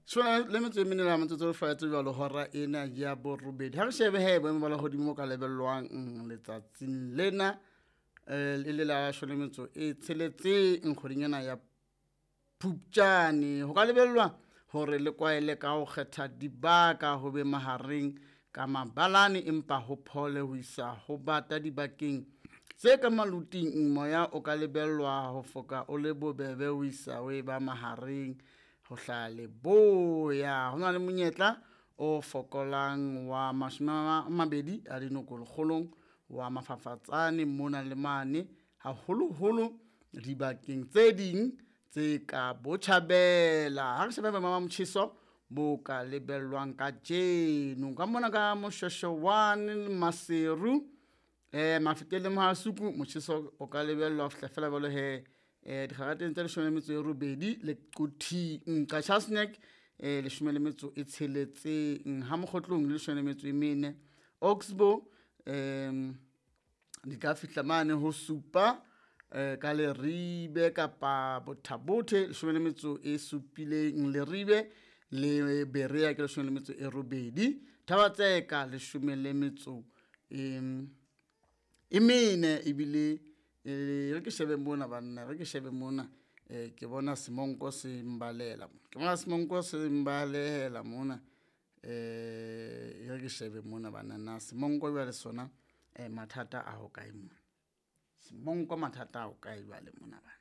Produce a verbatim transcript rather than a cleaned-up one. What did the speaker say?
Shona le metso e mene la metsotso e faetse jwalo hora ena ya borobedi. Ha re shebe he boemo ba lehodimo ka lebellwang letsatsing lena eh e le la shome le metso e tsheletseng kgweding ena ya Phupjane. Ho ka lebellwa hore le kwaele ka ho kgetha dibaka ho be mahareng ka mabalane, empa ho phole ho isa ho bata dibakeng tse ka maluting. Moya o ka lebellwa ho foka o le bobebe ho isa ho e ba mahareng ho hlaha leboya. Ho na le monyetla o fokolang wa mashome a mabedi a dinoko lekgolong wa mafafatsane mona le mane, haholoholo dibakeng tse ding tse ka botjhabela. Ha re shebe boemo ba motjheso bo ka lebellwang kajeno ka mona ka Moshweshwe Maseru, eh Mafikeng le Mohasuku, motjheso o ka lebellwa ho fihla fela jwalo he eh dikgarateng tse leshome le metso e robedi le Quthing. Qacha's Nek eh leshome le metso e tsheletseng, ha Mokgotlong le leshome le metso e mene, Oxbow em di ka fihla mane ho supa eh ka Leribe kapa Botha-Bothe leshome le metso e supileng, Leribe le Berea ke leshome le metso e robedi, Thaba-Tseka leshome le metso e e mene. Ebile e re ke shebe mona banna, re ke shebe mona eh ke bona semonko se mbalela, ke bona semonko se mbalehela mona. Eh e re ke shebe mona banna, na semonko jwale sona eh mathata a ho kae mona, semonko mathata a ho kae jwale mona bana.